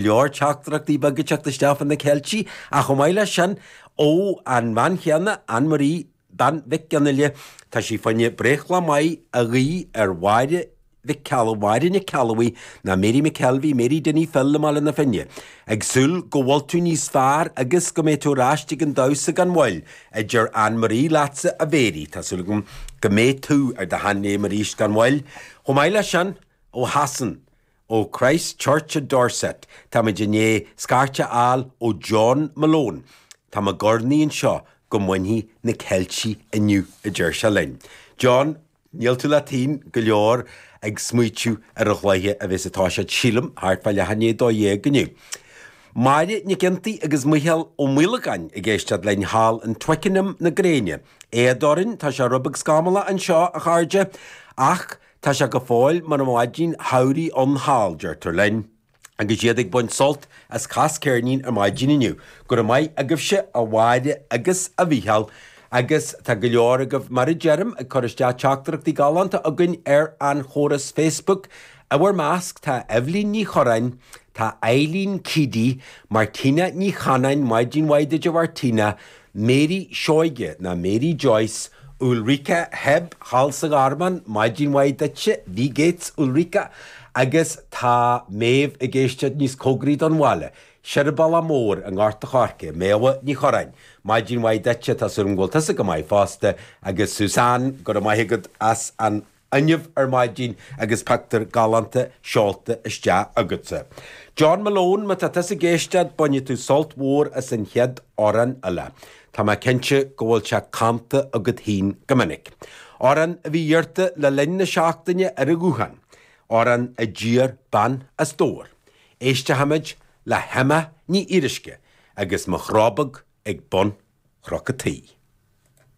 Leor teachtaireachtaí beaga ag teacht isteach fá na Ceiltigh, ach chomh maith leis sin, ó an bhean chéanna, Ann Marie, bean Mhic Fhionnghaile, tá sí fá choinne breithlá maith a ghuí ar Mháire Mhic Cealla, Máire Nic Ceallabhuí, ná Mary McKelvey, Mary Dinny Phil i mBaile na Finne. Ag súil go bhfuil tú níos fearr agus go mbeidh tú ar ais ag an damhsa gan mhoill, a deir Ann Marie leatsa, a Mhary. Tá súil agam go mbeidh tú ar do sheanléim arís gan mhoill. Chomh maith leis sin, ó Shasain, Ó Christ Church i Dorset, táimid i ndiaidh scairt a fháil ó John Malone. Tá mé ag urnaí anseo go mbainfidh na Ceiltigh inniu, a deir sé linn. John, níl tú leat féin go leor ag smaoitiú ar an chluiche a bheas ag toiseacht, sílim, thart fá leath i ndiaidh 12 inniu. Máire Nic Fhionntaigh agus Micheál Ó Maolagáin ag éisteacht linn thall in Twickenham na gréine. Éad orainn, tá sé rud beag scamallach anseo, a chairde, ach Tá sé go fóill mar mhaidin shamhraidh ann thall, deirtear linn, agus iad ag baint sult as cas ceirnín ar maidin inniu. Go raibh maith agaibhse, a Mháire agus a Mhícheáil, agus tá go leor agaibh, mar a deirim, ag cur isteach teachtaireachtaí galánta chugainn ar an chóras Facebook. I bhur measc tá Eibhlín Ní Chorráin, tá Eileen Keady, Martina Ní Chanáin, maidin mhaith duit a Mhartina, Mary Seoige, ná Mary Joyce, Ulrika Hebb thall sa Gharmán, maidin mhaith duitse, Bhí Gates, Ulrika, agus tá Méabh ag éisteacht níos cóngaraí don bhaile, Seirbhealach Mór i nGort a' Choirce, Méabha Ní Chorráin, maidin mhaith duitse, tá súil agam go bhfuil tusa go maith fosta, agus Suzanne, go raibh maith agat as an. fhuinneamh ar maidin agus pictiúr galánta seolta isteach agatsa. John Malone, má tá tusa ag éisteacht, bainfidh tú sult mhór as an chéad amhrán eile. Tá mé cinnte go bhfuil sé canta agat féin go minic. Amhrán a bhí iarrta le linn na seachtaine ar an ghuthán. Amhrán a d'iarr bean as Dobhar. Éistfimid le hEmma Ní Fhíoruisce agus Mo Chró Beag ag Bun Chnoc a' Tí.